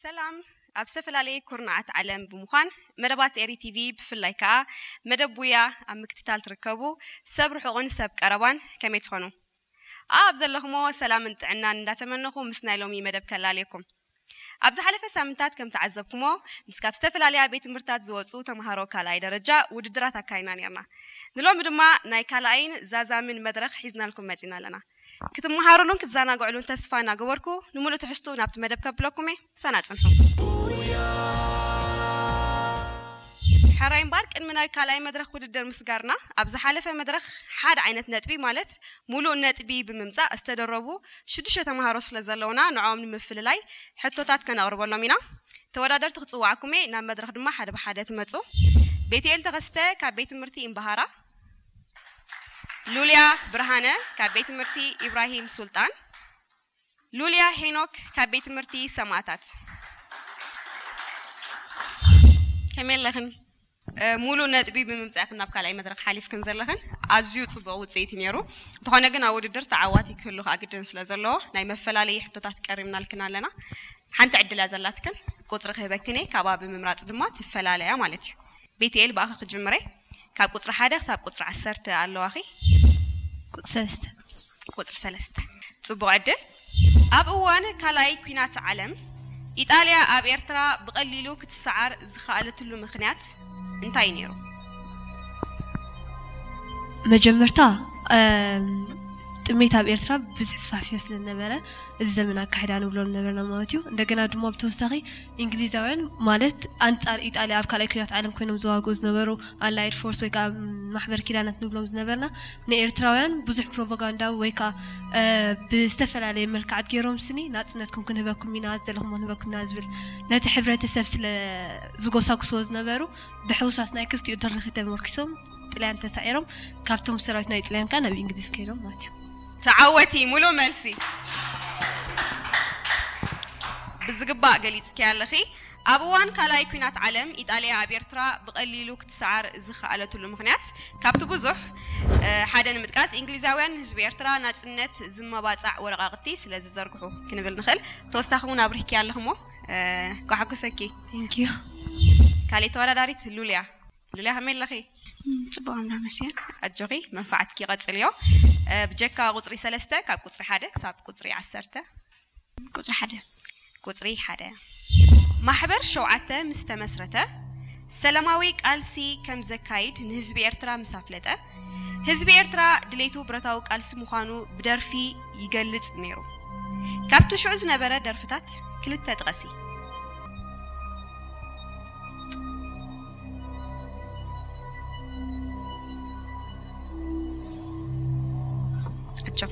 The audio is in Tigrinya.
ሰላም። ኣብ ዝተፈላለየ ኩርናዓት ዓለም ብምዃን መደባት ኤሪ ቲቪ፣ ብፍላይ ከኣ መደብ ቡያ ኣብ ምክትታል ትርከቡ ሰብ ርሑቕን ሰብ ቀረባን፣ ከመይ ትኾኑ? ኣብ ዘለኹሞ ሰላምን ጥዕናን እንዳተመነኹ፣ ምስ ናይ ሎሚ መደብ ከላልየኩም። ኣብ ዝሓለፈ ሳምንታት ከም ተዓዘብኩሞ፣ ምስ ካብ ዝተፈላለያ ቤት ትምህርታት ዝወጹ ተምሃሮ ካልኣይ ደረጃ ውድድራት ኣካይና ነርና። ንሎሚ ድማ ናይ ካልኣይን ዛዛምን መድረኽ ሒዝናልኩም መጺና ኣለና። ክትመሃሩሉን ክትዘናግዕሉን ተስፋ እናገበርኩ፣ ንምሉእ ትሕዝቱ ናብቲ መደብ ከብለኩም እየ። ምሳና ጽንሑ። ሕራይ እምበር፣ ቅድሚ ናይ ካልኣይ መድረኽ ውድድር ምስጋርና፣ ኣብ ዝሓለፈ መድረኽ ሓደ ዓይነት ነጥቢ፣ ማለት ምሉእ ነጥቢ ብምምጻእ ዝተደረቡ ሽዱሽተ ተምሃሮ ስለ ዘለውና፣ ንዕኦም ንምፍልላይ ሕቶታት ከነቕርበሎም ኢና። ተወዳደርቲ ክጽዋዕኩም እየ፣ ናብ መድረኽ ድማ ሓደ ብሓደ ትመጹ። ቤትኤል ተኸስተ ካብ ቤት ትምህርቲ እምበሃራ፣ ሉልያ ብርሃነ ካብ ቤት ትምህርቲ ኢብራሂም ሱልጣን፣ ሉልያ ሄኖክ ካብ ቤት ትምህርቲ ሰማእታት። ከመይ ኣለኽን? እ፣ ሙሉእ ነጥቢ ብምምጻእክን ናብ ካልኣይ መድረኽ ሓሊፍክን ዘለኽን ኣዝዩ ጽቡቕ ውጽኢት እዩ ነይሩ። እንተኾነ ግን ኣብ ውድድር ተዓዋቲ ክህሉ ከኣ ግድን ስለ ዘለዎ ናይ መፈላለዪ ሕቶታት ቀሪብናልክን ኣለና። ሓንቲ ዕድል እያ ዘላትክን፣ ቁጽሪ ክህበክን እየ፣ ካብኣ ብምምራጽ ድማ ትፈላለያ ማለት እዩ። ቤትኤል፣ ብኣኺ ክጅምረ። ካብ ቁጽሪ ሓደ ክሳብ ቁጽሪ ዓሰርተ ኣለዋኺ። ቁጽሪ ሰለስተ። ቁጽሪ ሰለስተ። ጽቡቕ ዕድል። ኣብ እዋን ካልኣይ ኲናት ዓለም ኢጣልያ ኣብ ኤርትራ ብቐሊሉ ክትሰዓር ዝኸኣለትሉ ምኽንያት እንታይ እዩ ነይሩ? መጀመርታ፣ እም፣ ጥሜት ኣብ ኤርትራ ብዙሕ ስፋሕፍዮ ስለ ዝነበረ፣ እዚ ዘመን ኣካሒዳ ንብሎ ነበርና ማለት እዩ። እንደገና ድማ ብተወሳኺ እንግሊዛውያን፣ ማለት፣ ኣንጻር ኢጣልያ ኣብ ካልኣይ ኲናት ዓለም ኮይኖም ዝዋግኡ ዝነበሩ ኣላይድ ፎርስ ወይ ከዓ ማሕበር ኪዳናት ንብሎም ዝነበርና፣ ንኤርትራውያን ብዙሕ ፕሮፓጋንዳ ወይ ከዓ፣ እ፣ ብዝተፈላለየ መልክዓት ገይሮም ስኒ ናጽነትኩም ክንህበኩም ኢና፣ ዝደለኹሞ ክንህበኩም ኢና ዝብል ነቲ ሕብረተሰብ ስለ ዝጎሳጉስዎ ዝነበሩ፣ ብሕውሳስ ናይ ክልቲኡ ድርኺት ተመርኪሶም ጥልያን ተሳዒሮም፣ ካብቶም ሰራዊት ናይ ጥልያን ከዓ ናብ እንግሊዝ ከይዶም ማለት እዩ። ተዓወቲ፣ ሙሉእ መልሲ። ብዝግባእ ገሊጽኪ ኣለኺ። ኣብ እዋን ካልኣይ ኲናት ዓለም ኢጣልያ ኣብ ኤርትራ ብቐሊሉ ክትሰዓር ዝኸኣለትሉ ምኽንያት፣ ካብቲ ብዙሕ፣ እ፣ ሓደ ንምጥቃስ፣ እንግሊዛውያን ንህዝቢ ኤርትራ ናጽነት ዝመባጻዕ ወረቓቕቲ ስለ ዝዘርግሑ ክንብል ንኽእል። ተወሳኺ እውን ኣብሪህኪ ኣለኽሞ፣ እ፣ ኳሓኩሰኪ። Thank you። ካልእ ተወዳዳሪት ሉልያ። ሉልያ፣ ከመይ ኣለኺ? ጽቡቕ፣ ኣምላኽ ይመስገን። ኣጆኺ፣ መንፋዕትኪ ቀጽልዮ። እ፣ ብጀካ ቁጽሪ ሰለስተ፣ ካብ ቁጽሪ ሓደ ክሳብ ቁጽሪ ዓሰርተ። ቁጽሪ ሓደ። ቁጽሪ ሓደ። ማሕበር ሸውዓተ ምስ ተመስረተ፣ ሰላማዊ ቃልሲ ከም ዘካይድ ንህዝቢ ኤርትራ ምስ ኣፍለጠ፣ ህዝቢ ኤርትራ ድሌቱ ብረታዊ ቃልሲ ምዃኑ ብደርፊ ይገልጽ ነይሩ። ካብቲ ሽዑ ዝነበረ ደርፍታት ክልተ ጥቐሲ። ኣጆኺ።